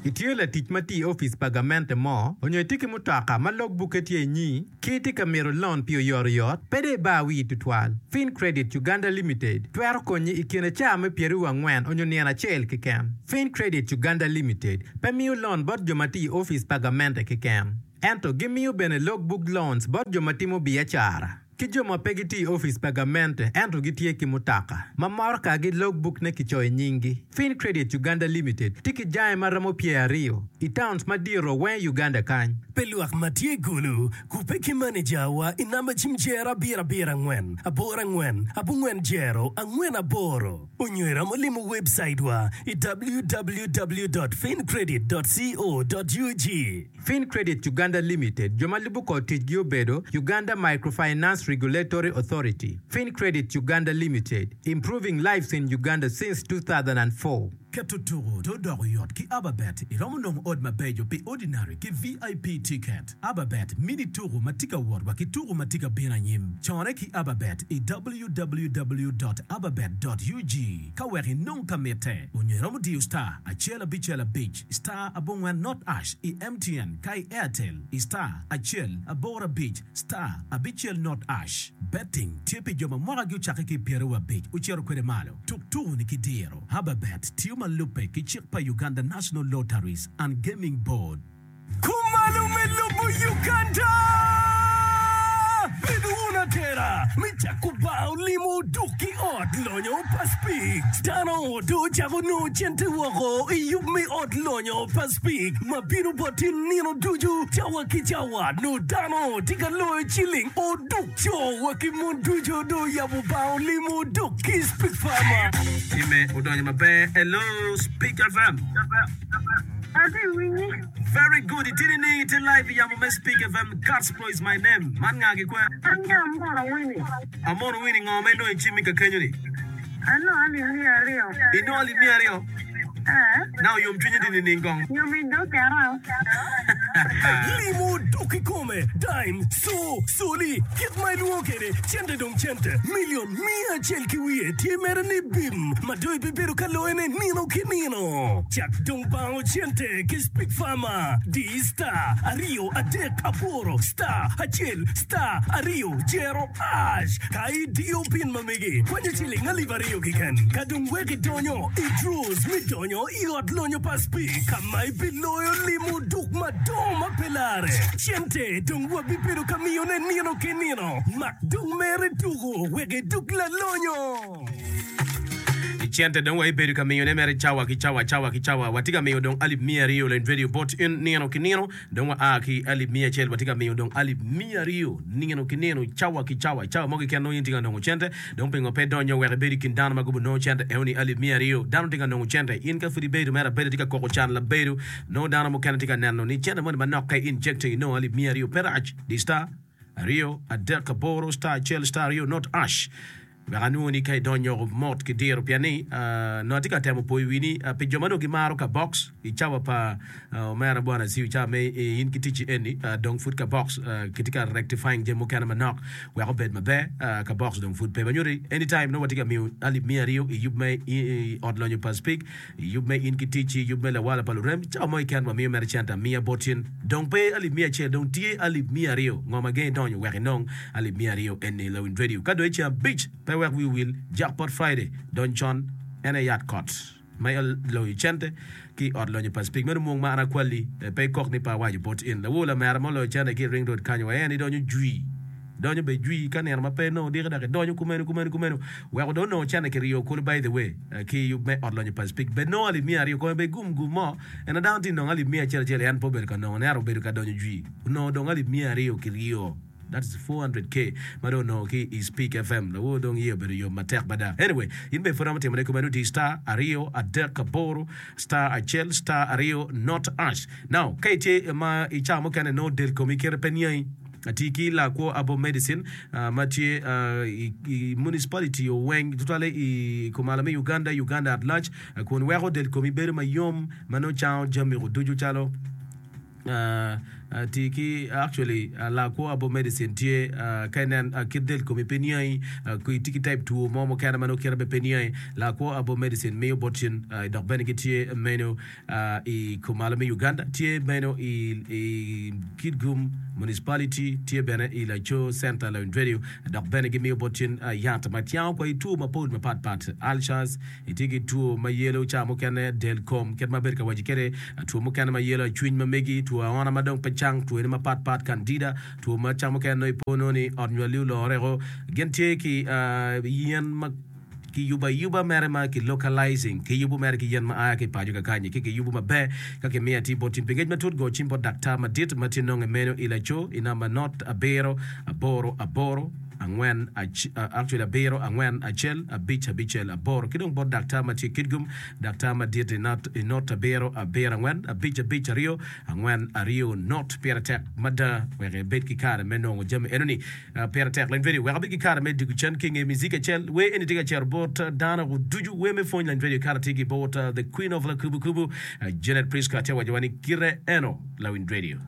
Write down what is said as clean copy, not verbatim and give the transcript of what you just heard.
Itye latic ma tye i opic pa gamente mo, onyo itye ki mutoka ma log bukke tye inyi, ki itye ka mito lon pi oyotoyot, pe dong ibar wii tutwal. Fincredit Uganda Limited twero konyi i kine caa me pyeraryo angwen onyo nino acel keken. Fincredit Uganda Limited pe miyo lon bot jo ma tye i opic pa gamente keken, ento gimiyo bene log book loans bot jo ma timo biacara. Ki jo ma pe gitye i opic pa gamente ento gitye ki mutoka ma motokagi logbukne kicoyo nyinggi. Fincredit Uganda Limited tye ki jange ma romo pyeraryo i towns madito weng i Uganda kany. Pe lwak ma tye i Gulu kubbe ki manejawa i namba cim jero abiro abiro angwen aboro angwen abongwen jero angwen aboro onyo iromo limo webcaitwa i www dot fincredit dot co dot ug. Fincredit Uganda Limited, jo ma lubo kor ticgi obedo, Uganda Microfinance Regulatory Authority, Fincredit Uganda Limited, Improving lives in Uganda since 2004. Keto tuku to doko yot ki Ababet. Iromo nongo ot mabeco pi Ordinary ki VIP ticket. Ababet mini tuku ma tye ka wot wa ki tuku ma tye ka bino anyim. Cone ki Ababet i www dot ababet dot ug ka wek inong ka mitte. Onyo iromo diyo star acel abicel abic star abongwen not ash i MTN ka i Airtel i star acel aboro abic star abicel not ash. Betting tye pi jo ma mwakagi ocakke ki i pyeraryo abic ocito kwede malo. Tuk tuku ni ki diro. Hababet tiyo ma lubbe ki cik pa Uganda National Lotteries and Gaming Board. Kumalo me lobo Uganda! Bed wun atera me cako bar olimo duk ki ot lonyo pa Speke. Dano dong ocako nongo cente woko i yub me ot lonyo pa Speke ma bino boti nino ducu cawa ki cawa. Nongo dano tye ka loyo ciling oduk. Co wa ki mon ducu dong oyabo bar olimo duk ki Speke Farmer. Timme odonyo maber. Hello Speke FM. Atye winyi. Very good itye nining itye live i yamo me speak FM Gospel is my name man nga ki kwe? An ki Amono Winnie. Amono Winnie ngo ma inongo i cimmi ka kenyo ni? Anongo alip 200. Inongo alip 200? Ee. Now yom cwinyi tye nining kong? Yom i dog kera. Limo dok kikome, dime, co, coli, kit ma ilwongo kwede, cente dong cente, milion miya acel ki wiye tye mere ni bim ma dong ibibedo ka loyone nino ki nino. Cak dong bango cente ki Speak Farmer, di star aryo adek aboro star acel star aryo jero ash ka idiyo pin ma megi kwanyo ciling alip aryo keken ka dong wek idonyo i draws me donyo i ot lonyo pa Speak ka ma ibiloyo limo duk madongo ma pe larre. Cente dong wabibedo ka miyone nino ki nino. Mak dong mere tuko wek idug lalonyo. Cente dong waibedo ka miyone mere cawa ki cawa, cawa ki cawa. Watye ka miyo dong alip 200 Lony Radio bot in nino ki nino. Dong wa a ki alip 100 watye ka miyo dong alip 200 nino ki nino, cawa ki cawa. I cawa mo keken nongo in itye ka nongo cente. Dong pingo pe idonyo wek ibed i kin dano ma gubinongo cente enoni alip 200? Dano tye ka nongo cente. In ka pud ibedo mere abeda itye ka koko can labedo, nongo dano mukene tye ka neno ni cente moni manok ka i injecting inongo alip 200 pe rac. Di star aryo adek aboro star acel star aryo not ash. Wek anwongo ni ka idonyo mot ki diro pien ni nongo atye ka temo poyo wi ni pi jo ma dong gimaro ka box i cawa pa omera bwana Aciu cawa me in ki ticci eni dong pud ka box kitye ka rectifying jami mukene manok wek obed maber ka box dong pud pe ma nyuto ni anytime nongo watye ka miyo alip 200 i yub me i ot lonyo pa Speke I yub me in ki ticci, yub me lawala pa lurem, cawa mo keken wamiyo mere cente amiya bot in. Dong pe alip 100, dong tye alip 200. Ngo ma gengi donyo wek inong alip 200 eni lawiny radio? Ka dong i ceng abic, pe wek wi owil, Jackpot Friday, dony con, en aye yat kot ma loyo cente ki i ot lonyo pa Speke. Meno mwong ma an akwalli, pe ikok ni pe awaco bot in. Lawor lamera ma oloyo cente ki i Ring Road kany wa en idonyo jwi. Donyo bene jwi ka nino ma pe nongo diki dok idonyo kumeno kumeno kumeno weko dong onongo cente kiryo kulu by the way ki yub me ot lonyo Pacific bed nongo alip 200 kome bed gum gum mo ento dano tye nongo alip miya acel acel en pe obedo ka nongo ne ento obedo ka donyo jwi onongo dong alip 200 kiryo that is 400k ma dong onongo ki i Speak FM lawor dong iye obedo yom matek mada anyway in bene pud romo timone kumeno di star aryo adek aboro star acel star aryo not ash now ka itye ma i cawa mukene nongo del komi kite pe niangi Ati ki lakwo Herbal Medicine ma tye i municipality weng tutwalle i kumalo me Uganda, Uganda at large, kun weko del komi bedo mayom ma nongo cango jami ducu calo. Ti ki actually lakwo abo medicine tye ka inen kit del komi pe niangi itye ki type two mo mukene ma nongo kite bene pe niangi lakwo abo medicine miyo bot cen dok bene gitye meno i kumalo me Uganda tye meno i Kitgum municipality tye bene i Laco center Lawiny Radio dok bene gimiyo bot cen yat ma tyango kwa i two mapol mapat pat ulcers Itye ki two ma yelo ca mukene del kom kit ma abedo ka waci kwede, two mukene ma yelo acwiny ma megi, two aona ma dong pe cang, twone mapat pat, candida, two ma ca mukene nongo ipo nongo ni ot nywali olore o. Gin tye ki yen ma kiyubo ayuba mere ma ki localizing, kiyubo mere ki yen ma a ki paco kakanyi ki kiyubo maber ka kimiyo atir bot in. Pi ngec matut go cim bot daktar madit ma tye nonge meno i laco i namba not abiro aboro aboro. angwen actually abiro angwen acel abic abicel aboro ki dong bot daktar ma tye Kitgum daktar madit i not i not abiro abiro angwen abic abic aryo angwen aryo not pire tek mada wek ibed ki kare me nongo jami eno ni pire tek lany video wek abed ki kare me diko cen ki nge mizik acel wer eni tye ka cito bot dano ducu wer me pwony lany video kare tye ki bot the queen of lakubu kubu Janet Prisca tye waco wa ni kite eno lawiny radio.